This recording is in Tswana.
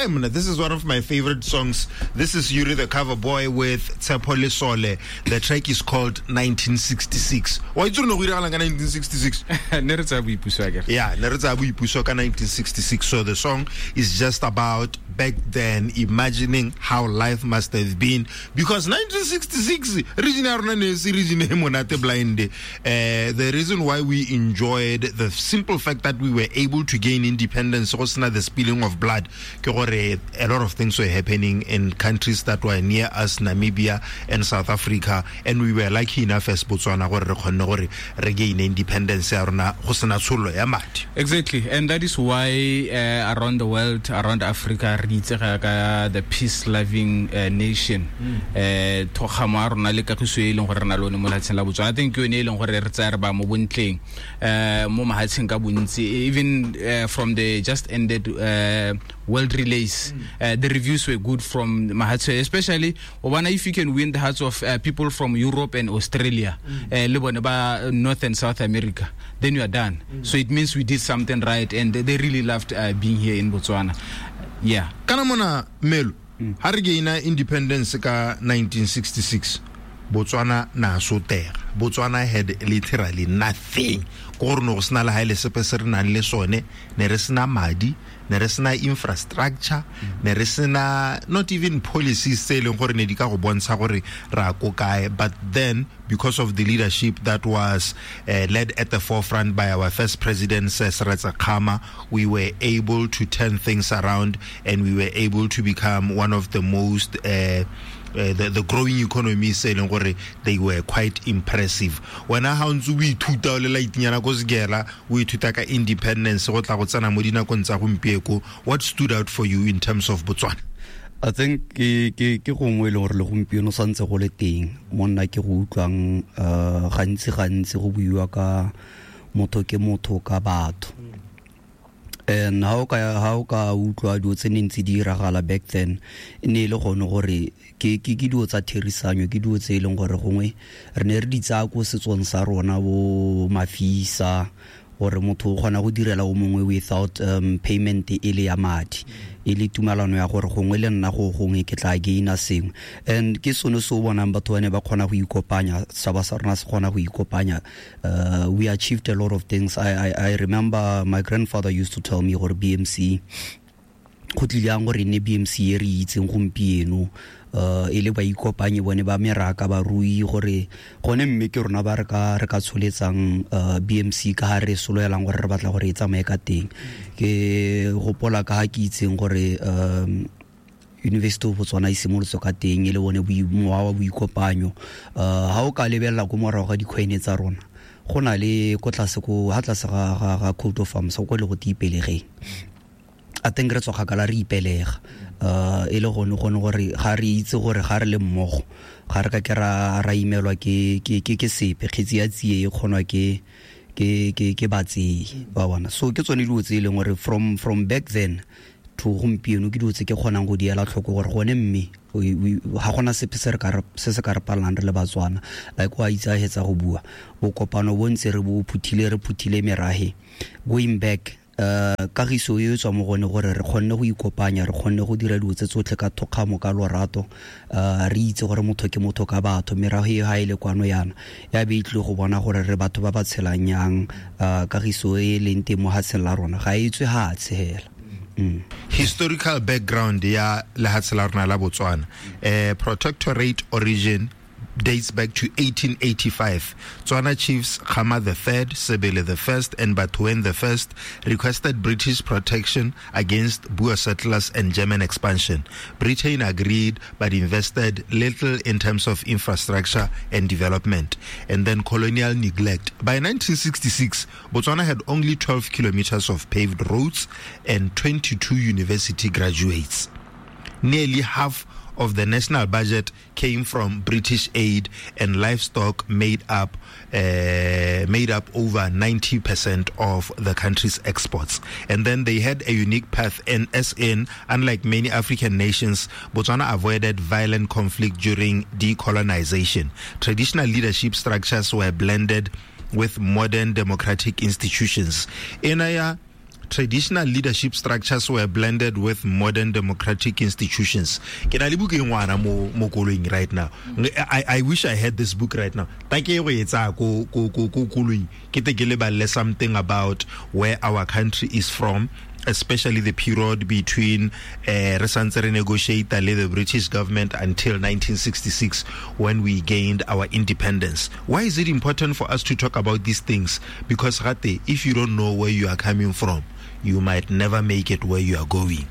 Hey, man, this is one of my favorite songs. This is Yuri the Cover Boy with Tshepo Lesole. The track is called 1966. Wa itse re ne go diragalang ka 1966? Ne re tsaya boipuso akere. Yeah, ne re tsaya boipuso ka 1966. So the song is just about back then, imagining how life must have been. Because 1966, region ya rona ne se region e monate blind. The reason why we enjoyed the simple fact that we were able to gain independence, go sena the spilling of blood, ke gore a lot of things were happening in countries that were near us, Namibia and South Africa, and we were lucky enough as Botswana gore re kgonne gore re gain independence ya rona go sena tshollo ya madi. Exactly, and that is why around the world, around Africa, re itsega ka the peace-loving nation. Thokgamo ya rona le kagiso e leng gore re na le one mo lefatsheng la Botswana. I think ke yone e leng gore re tsaya re ba mo bontleng, mo mahatsheng ka bontsi, even from the just ended world relays, the reviews were good from mahatshe, especially obana if you can win the hearts of people from Europe and Australia, le bone ba North and South America, then you are done. So it means we did something right, and they really loved being here in Botswana. Yeah. Kana mona Melo, ha re gaina independence ka 1966, Botswana na sotega. Botswana had literally nothing. Ko gore no go sena le ha ile sepe se re nang le sone, ne re sena madi, ne re sena infrastructure, ne re sena not even policies tse e leng gore ne di ka go bontsha gore ra ko kae. But then, because of the leadership that was led at the forefront by our first president, Seretse Khama, we were able to turn things around, and we were able to become one of the most the growing economies, e leng gore they were quite impressive. Wena ha o ntse o ithuta o le laitinyana ko Segela, o ithuta ka independence go tla go tsena mo dinakong tsa gompieko, what stood out for you in terms of Botswana? I think ke gongwe e leng gore le gompieno santse go le teng, monna ke go utlwang, gantsi gantsi go buiwa ka motho ke motho ka batho. And ha o ka utlwa dilo tse ne ntse di diragala back then, e ne e le gone gore ke dilo tsa therisanyo, ke dilo tse e leng gore gongwe re ne re di tsaya ko setsong sa rona bo mafisa, gore motho o kgona go direla o mongwe without payment e le ya madi, e le tumalano ya gore gongwe le nna go gongwe ke tla gaina sengwe. And ke sone se o bonang batho ba ne ba kgona go ikopanya, setšhaba sa rona se kgona go ikopanya. We achieved a lot of things. I remember my grandfather used to tell me gore BMC, go tlile yang gore e nne BMC e re itseng gompieno, e le ba ikopanye bone ba meraka barui, gore gone mme ke rona ba re ka tsholetsang BMC ka ha re soloelang gore re batla gore e tsamaye ka teng. Ke gopola ka ha ke itseng gore University of Botswana e simolotse ka teng e le bone mowa wa boikopanyo. Ha o ka lebelela ko morago ga dikgwene tsa rona, go na le ko tlase ko ha tlase ga coat of arms go le go tiipelegeng. I think re tswa kgakala re ipelega. E le gone gore ga re itse gore ga re le mmogo, ga re ka ke ra imelwa ke sepe, kgetsi ya tsie e kgonwa ke batsei ba bona. So ke tsone dilo tse e leng gore from back then to gompieno ke dilo tse ke kgonang go di ela tlhoko gore gone mme ga gona sepe se se ka re palelang re le Batswana. Like wa itse a hetsa go bua, bokopano bo ntse re bo phuthile, re phuthile merahe going back. Kagiso e tswa mo gone gore re kgonne go ikopanya, re kgonne go dira dilo tse tsotlhe ka thokgamo, ka lorato, re itse gore motho ke motho ka batho. Merago e ha e le kwano yana ya be e tlile go bona gore re batho ba ba tshelang yang, kagiso e leng teng mo hatsheng la rona ga e tswe hatshe hela. Historical background ya lehatshe la rona la Botswana, protectorate origin dates back to 1885. Tswana chiefs Khama the III, Sebele the I, and Bathoen the I requested British protection against Boer settlers and German expansion. Britain agreed but invested little in terms of infrastructure and development. And then colonial neglect. By 1966, Botswana had only 12 kilometers of paved roads and 22 university graduates. Nearly half of the national budget came from British aid, and livestock made up over 90% of the country's exports. And then they had a unique path, and as in, unlike many African nations, Botswana avoided violent conflict during decolonization. Traditional leadership structures were blended with modern democratic institutions. Enaya Traditional leadership structures were blended with modern democratic institutions. Ke na le buka e ngwana mo mo koloing right now. I wish I had this book right now. Ta ke go e tsaya ko ko ko ko koloing ke te ke leballe something about where our country is from, especially the period between re santse re negotiate le the British government until 1966 when we gained our independence. Why is it important for us to talk about these things? Because gate, if you don't know where you are coming from, you might never make it where you are going.